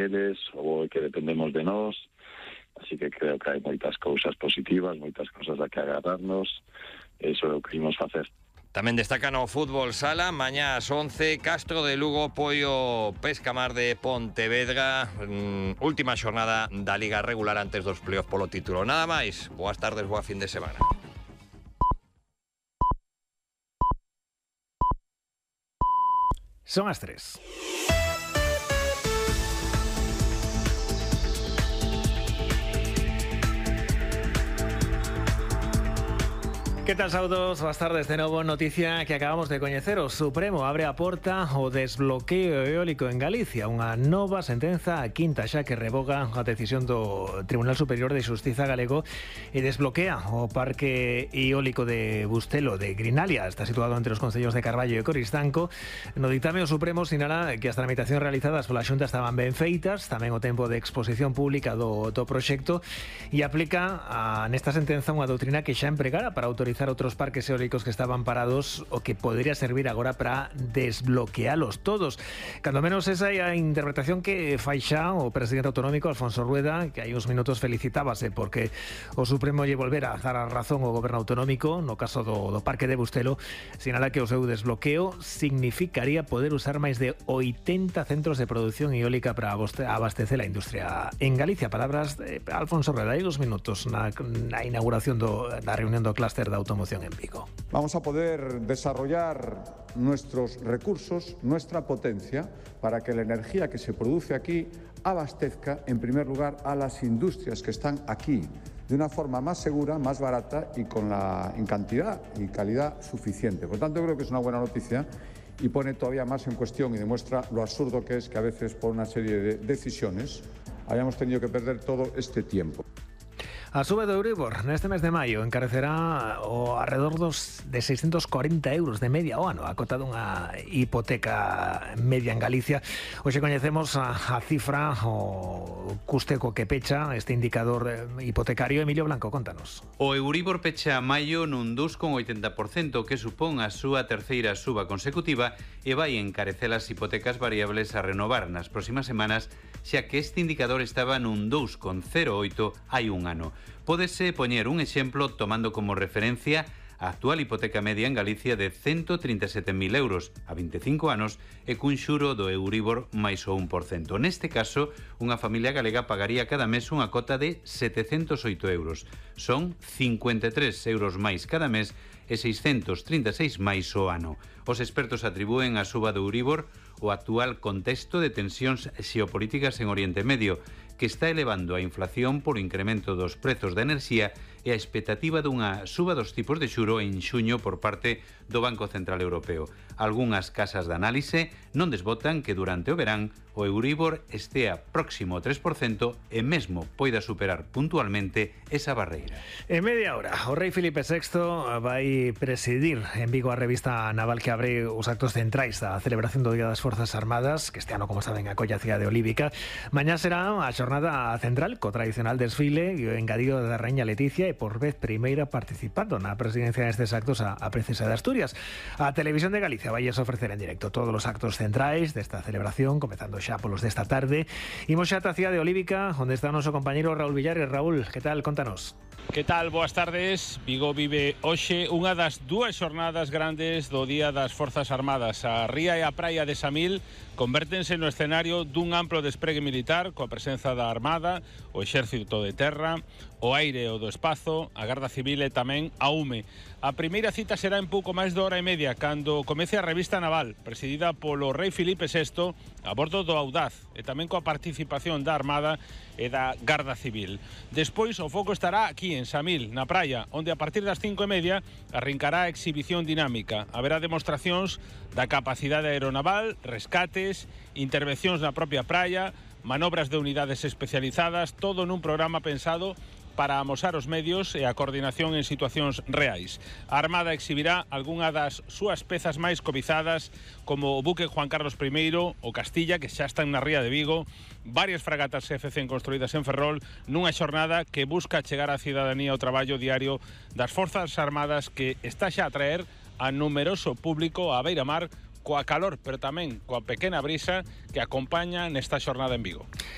eles ou que dependemos de nós, así que creo que hai moitas cousas positivas, moitas cousas a que agarrarnos, eso é o que imos facer. Tamén destacan o fútbol sala, mañá ás 11, Castro de Lugo, Poio, Pescamar de Pontevedra, última xornada da Liga regular antes dos playoff polo título. Nada máis, boas tardes, boa fin de semana. Son as 3. Que tal, saudos? Boas tardes de novo. Noticia que acabamos de coñecer. O Supremo abre a porta ao desbloqueo eólico en Galicia. Unha nova sentenza, a quinta xa, que revoga a decisión do Tribunal Superior de Xustiza galego e desbloquea o parque eólico de Bustelo de Grinalia. Está situado entre os concellos de Carballo e Coristanco. No ditame, o Supremo sinala que as tramitacións realizadas pola Xunta estaban ben feitas, tamén o tempo de exposición pública do proxecto, e aplica nesta sentenza unha doutrina que xa empregara para autorizar outros parques eólicos que estaban parados, o que podría servir agora para desbloquealos todos. Cando menos esa é a interpretación que fai xa o presidente autonómico Alfonso Rueda, que hai uns minutos felicitábase porque o Supremo lle volvera a dar a razón ao goberno autonómico no caso do parque de Bustelo. Sinala que o seu desbloqueo significaría poder usar máis de 80 centros de produción eólica para abastecer a industria en Galicia. Palabras de Alfonso Rueda hai 2 minutos na inauguración da reunión do clúster da automoción en Vigo. Vamos a poder desarrollar nuestros recursos, nuestra potencia, para que la energía que se produce aquí abastezca, en primer lugar, a las industrias que están aquí, de una forma más segura, más barata y en cantidad y calidad suficiente. Por tanto, creo que es una buena noticia y pone todavía más en cuestión y demuestra lo absurdo que es que a veces, por una serie de decisiones, hayamos tenido que perder todo este tiempo. A sube do Euribor neste mes de maio encarecerá o alrededor de 640 euros de media ao ano a cota dunha hipoteca media en Galicia. Hoxe coñecemos a cifra, o custe co que pecha este indicador hipotecario. Emilio Blanco, contanos. O Euribor pecha maio nun 2,80%, que supón a súa terceira suba consecutiva e vai encarecer as hipotecas variables a renovar nas próximas semanas, xa que este indicador estaba nun 2,08 hai un ano. Pódese poñer un exemplo tomando como referencia a actual hipoteca media en Galicia de 137.000 euros a 25 anos e cun xuro do Euribor máis o 1%. Neste caso, unha familia galega pagaría cada mes unha cota de 708 euros. Son 53 euros máis cada mes e 636 máis o ano. Os expertos atribúen a suba do Euribor o actual contexto de tensións xeopolíticas en Oriente Medio, que está elevando a inflación por incremento dos prezos da enerxía e a expectativa dunha suba dos tipos de xuro en xuño por parte do Banco Central Europeo. Algunhas casas de análise non desbotan que durante o verán o Euribor estea próximo ao 3% e mesmo poida superar puntualmente esa barreira. En media hora, o rei Filipe VI vai presidir en Vigo a revista naval que abre os actos centrais da celebración do Día das Forzas Armadas, que este ano, como saben, acolle a cidade de Olívica. Mañá será a xornada central co tradicional desfile e o engadido da Raíña Leticia, e por vez primeira participando na presidencia destes actos a princesa de Asturias. A Televisión de Galicia vai ofrecer en directo todos os actos centrais desta celebración, comezando xa polos desta tarde. Imos xa ata a cidade de Olívica, onde está o noso compañeiro Raúl Villares. Raúl, que tal? Contanos. Que tal? Boas tardes. Vigo vive hoxe unha das dúas xornadas grandes do Día das Forzas Armadas. A ría e a praia de Samil convértense no escenario dun amplo despregue militar coa presenza da Armada, o Exército de Terra, o aire e o do espazo, a Garda Civil e tamén a UME. A primeira cita será en pouco máis de hora e media, cando comece a revista naval, presidida polo rei Filipe VI, a bordo do Audaz, e tamén coa participación da Armada e da Garda Civil. Despois, o foco estará aquí, en Samil, na praia, onde a partir das 5:30 arrincará a exhibición dinámica. Haberá demostracións da capacidade aeronaval, rescates, intervencións na propia praia, manobras de unidades especializadas, todo nun programa pensado para amosar os medios e a coordinación en situacións reais. A Armada exhibirá algunha das súas pezas máis cobizadas, como o buque Juan Carlos I, o Castilla, que xa están na ría de Vigo, varias fragatas FC construídas en Ferrol, nunha xornada que busca chegar á cidadanía ao traballo diario das Forzas Armadas, que está xa a traer a numeroso público á beira-mar, coa calor, pero tamén coa pequena brisa que acompaña nesta xornada en Vigo.